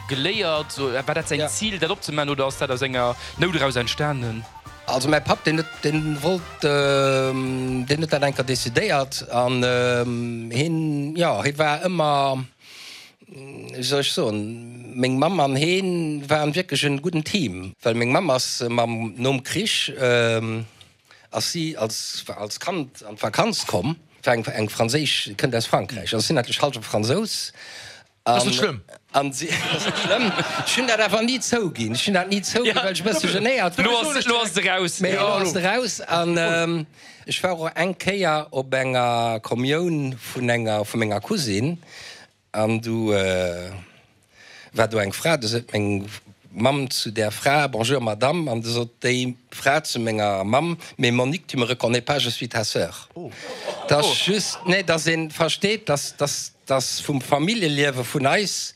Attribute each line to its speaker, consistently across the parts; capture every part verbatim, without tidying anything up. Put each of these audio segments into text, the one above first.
Speaker 1: Geléiert? War dat säin Zil, dat opzemaachen, oder ass dat aus enger Nout eraus entstanen?
Speaker 2: Also mäi Papp, deen huet, deen wollt, deen huet dat eng Kéier decidéiert an hien, jo, hie war ëmmer, wéi soll ech soen, meng Mamm an hien waren wierklech en gudden Team, well meng Mamm ass mam, nom Krich ass si als, als Kand an d'Vakanz komm, war eng, eng franséisch, kënnt aus Frankräich, also sinn natierlech hallwe Fransous.
Speaker 3: Ass net schlëmm.
Speaker 2: An si, ass net schlëmm. Ech hunn dat awer ni zouginn. Ech hunn dat ni zouginn, well ech e bësse genéiert
Speaker 1: war. Lo ass, lo ass et eraus.
Speaker 2: Mee elo ass et eraus. An ech war och eng Kéier op enger Kommioun vun enger, vu menger Cousine. An du war do eng Fra, du sot meng Mamm zu där Fra, Bonjour Madame. An du sot déi Fra zu menger Mamm, Mais Monique, tu me reconnais pas, je suis ta sœur. Dass just, nee, dass ee versteet, dass, dass. Dass vum Familljeliewe vun eis,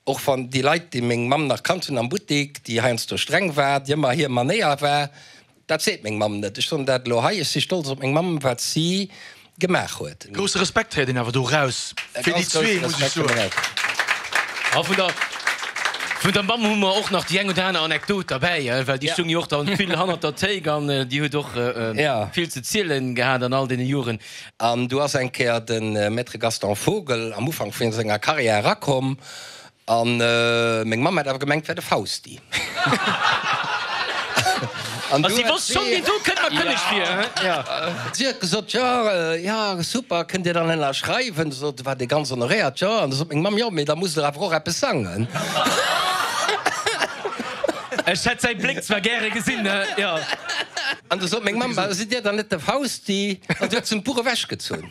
Speaker 2: och wann déi Leit, déi meng Mamm nach kannt hunn am Buttik, déi heiansdo streng war, déi ëmmer hir Manéier war, dat seet meng Mamm net. Ech soen dat elo hei, ech si stolz op meng Mamm, wat si gemaach huet.
Speaker 3: Grousse Respekt héiert een awer do raus fir déi zwee, muss ech soen.
Speaker 4: A vun der, vun der Mamm hu mer och nach déi eng oder aner Anekdot derbäi, well déi stoung jo och dann vill hannert der Théik an déi huet och vill ze zielen gehat an all deene Joren.
Speaker 2: An du ass eng Kéier de Maître Gaston Vogel am Ufank vun senger Carrière erakomm an meng Mamm hat awer gemengt, et wär de Fausti. An
Speaker 4: si wosst schonn, deen do kënnt mer kënneg vir.
Speaker 2: Si huet gesot, Jo, jo, super, kënnt Dir dann ënnerschreiwen? Du sot, war dee ganz honoréiert, Jo. An du sot meng Mamm, Jo, mee da musst Der awer och eppes sangen.
Speaker 4: Ech hätt säi Bléck zwar gäre gesinn, jo.
Speaker 2: An du sot meng Mamm, Bah, sidd Dir dann net de Fausti? An si huet s'em d'Buch ewechgezunn.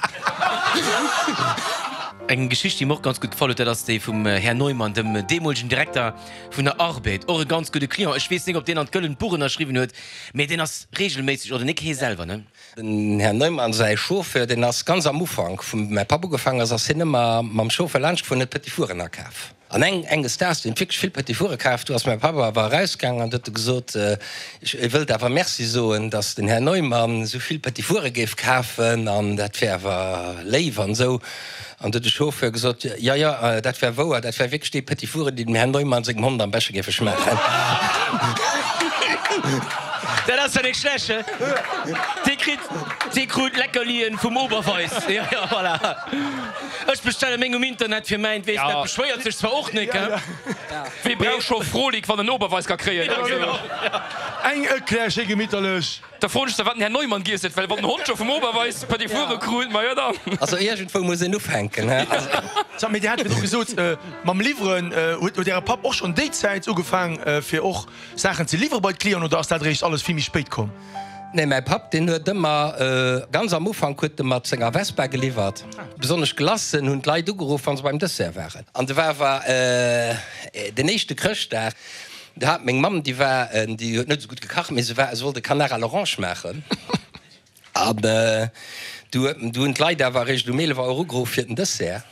Speaker 4: Eng Geschicht, déi mer och ganz gutt gefall huet, dat ass déi vum Här Neumann, dem deemolegen Direkter vun der Arbed. Och e ganz gudde Client. Ech weess nik, ob deen an d'Gëllent Buch ënnerschriwwen huet, mee deen ass reegelméisseg, oder nik hee selwer, ne?
Speaker 2: Den Här Neumann säi Chauffeur, deen ass ganz am Ufank, wou mäi Papp ugefaangen ass, ass hien ëmmer mam Chauffeur laanscht gefuer an huet Petit Four'en akaf. An eng enges Daags, deen huet wierklech vill Petit Foure kaf, du ass mäi Papp awer erausgaangen an huet e gesot, e wëllt awer Merci soen, datt den Här Neumann esou vill Petit Foure géif kafen an dat wär awer léif an esou. An du huet de Chauffeur gesot, Jo, jo, dat wär wouer, dat wär wierklech déi Petit Foure, déi dem Här Neumann sengem Hond am beschte géife schmaachen.
Speaker 4: Dat ass jo nik schlecht, he? Dee kritt, dee krut Leckerlien vum Oberweis. Jo, jo, voilà. Ech bestelle meng um Internet fir mäint, weess, dat beschwéiert sech zwar och nik, he?
Speaker 1: Wee brauch scho Frolic, wann en Oberweis ka kréien?
Speaker 3: Eng Eclair schéi gemitterlech.
Speaker 1: Da froen ech da, wat den Här Neumann giess huet, well wann den Hond scho vum Oberweis Petit Foure krut, ma jo dann.
Speaker 2: Also iergendwou muss een ufänken, he?
Speaker 3: Sag, mee Dir hat virdru gesot, mam Liwweren, huet Äre Papp och schonn déi Zäit ugefaang, fir och Saachen ze liwwere bei d'Clienten oder ass dat eréischt alles vill méi spéit komm?
Speaker 2: Nee, mäi Papp, deen huet ëmmer, ganz am Ufank huet e mat senger Vespa geliwwert. Besonnesch Glacen hunn d'Leit ugeruff, wa se beim Dessert waren. An de war awer den éischte Chrëschtdag, do hat meng Mamm, déi war, déi huet net esou gutt gekacht, mee se war, se wollt e Canard à l'orange maachen. An du du hunn d'Leit awer eréischt um eelef Auer ugeruff fir den Dessert,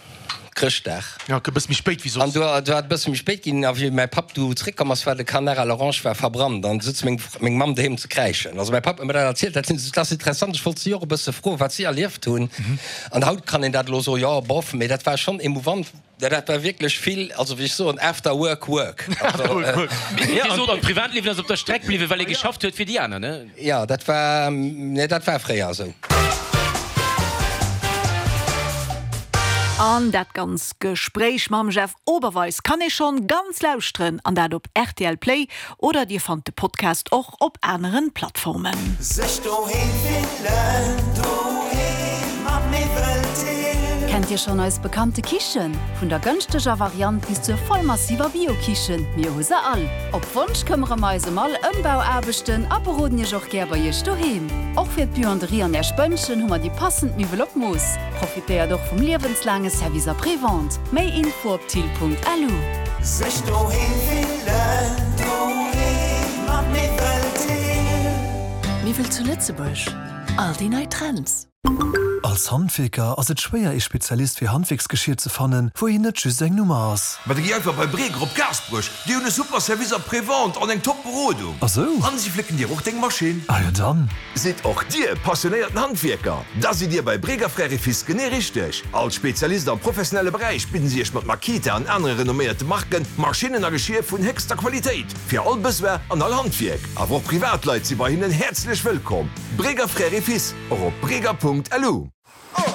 Speaker 2: Chrëschtdag.
Speaker 3: Jo, e bësse méi spéit wéi soss.
Speaker 2: An du war et e bësse méi spéit ginn. A wéi mäi Papp du zréckkomm ass, war de Canard à l'orange war verbrannt an du sutz meng meng Mamm doheem ze kräischen. Also mäi Papp huet mer dat erzielt. Dat sinn, dat ass interessant. Ech wollt si och e bësse froen, wat si erlieft hunn. An haut kann een dat elo soen, jo, bof, mee dat war schonn emouvant. Dat war wierklech vill, also wéi ech soen, after work work.
Speaker 4: Dir sot, an d'Privatliewen ass op der Streck bliwwen, well ee geschafft huet fir déi aner, ne?
Speaker 2: Jo, dat war, nee, dat war fréier esou.
Speaker 5: An dat ganz Gespréich mam Jeff Oberweis kann ee schonn ganz lauschteren, an dat op rtl Play oder dir fannt de Podcast och op aneren Plattformen.
Speaker 6: Sech doheem fillen, doheem mat Miwwel Thill.
Speaker 7: Kennt Dir schonn eis bekannte Kichen? Vun der gënschteger Variant bis zur vollmassiver Bio-Kichen, mir hu se all! Op Wonsch këmmere mer eis ëm all Ëmbauaarbechten a beroden Iech och gär bei Iech doheem. Och fir d'Buanderie an Är Spënnchen hu mer déi passend Miwwel op Mooss. Profitéiert och vum liewenslaange Service Après-Vente. Méi Info op thill.lu.
Speaker 6: Sech doheem fillen, doheem mat Miwwel Thill.
Speaker 8: Miwwel zu Lëtzebuerg, all déi nei Trends. Als Handwierker ass et schwéier ee Spezialist fir Handwierksgeschier ze fannen, wou een net just eng Nummer ass.
Speaker 9: Ma da gi einfach bei Breger op Gaasperech, déi hunn e super Service après-vente an eng top Berodung.
Speaker 8: Ah sou?
Speaker 9: An si flécken dir och deng Maschinn.
Speaker 8: Ah jo dann.
Speaker 9: Sidd och dir passionéierten Handwierker? Da sidd dir bei Breger Frères et Fils genee richteg. Als Spezialist am professionelle Beräich bidden si iech mat Makita an anere renomméierte Marken Maschinnen a Geschier vun héchster Qualitéit fir all Besoin an all Handwierk. Awer och Privatleit si bei hinnen häerzlech wëllkomm. Breger Frères et Fils, och op breger.lu.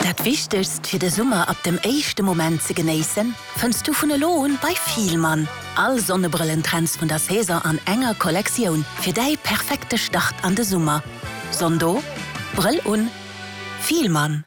Speaker 10: Dat Wichtegst fir de Summer ab dem éischte Moment ze genéissen, fënns du vun elo un bei Fielmann. All Sonnebrëllentrends vun der Saison an enger Kollektioun fir däi perfekte Start an de Summer. Sonn do, Brëll un, Fielmann.